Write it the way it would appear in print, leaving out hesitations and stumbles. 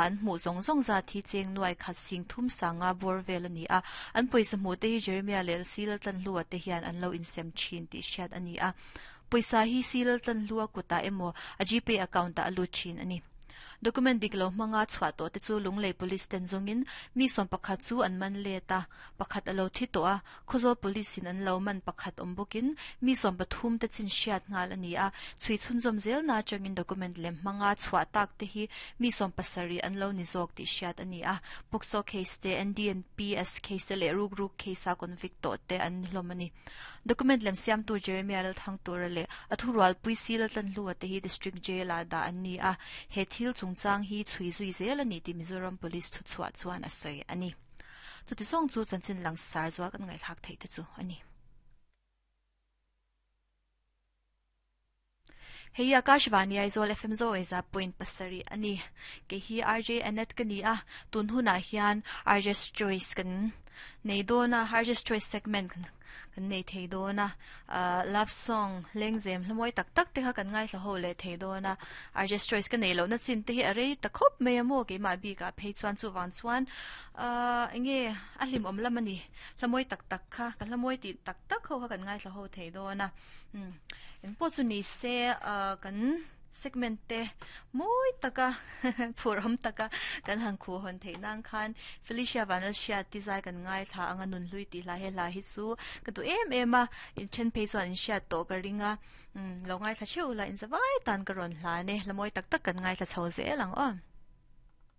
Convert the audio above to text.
An hmuh zawng zawng zat hi cheng nuai khat sing thum sanga bawr vel a ni a, an pawisa hmuh te hi Jeremiah leh Silaltlanhlua te hian an lo insem thin tih hriat a ni a. Pawisa hi Silaltlanhlua kutah emaw a Gpay account ah a lut thin a ni. Document dik lo hmanga chhuah tawh te chu Lunglei Police ten zawngin mi 11 chu an man let a, pakhat a lo thi tawh a, Khawzawl Police in an lo man pakhat awm bawkin mi 13 te chin hriat nghal a ni a, chhui chhunzawm zelna atangin document lem hmanga chhuah tak te hi mi 70 an lo ni zawk tih hriat a ni a, POCSO case te, NDNPS case te leh rukruk case a convict tawh te an ni hlawm a ni. Document lem siamtu Jeremiah Lalthangtura leh a thurualpui Si Laltlanhlua te hi District Jail ah dah an ni a, he thil chungchang hi chhui zui zel a ni tih Mizoram Police thuchhuah chuan a sawi a ni. Chuti zawng chu chanchin langsar zual kan ngaihthlak theih te chu a ni. Hei Akashvani Aizawl FM Zo Eza point pasarih a ni. Kei hi RJ Annette ka ni a, tun hunah hian RJ's Choice kan nei dawn a, RJ's Choice segment kan kan nei thei dawn a, love song lengzem hla mawi tak tak te kha kan ngaithla ho leh thei dawn a, RJ's Choice ka neih lohna chin te hi a rei ta khawp mai a maw keimah bikah phei chuan chuvang chuan enge a hlimawm lam a ni, hla mawi tak tak kha ka hla mawi tih tak tak ho kha kan ngaithla ho thei dawn a, engpawh chu ni se kan. Segment te mawi taka phurhawm taka kan han khuh hawn theih nan khan Felicia Vanlalhriat ti zai kan ngaithla anga nunhlui tih hla he hla hi chu ka duh em em a, inthen phei chuan inhriat tawh ka ring a, lo ngaithla theuh la inzavai tan ka rawn hlan e, hla mawi tak tak kan ngaithla chho zel ang aw.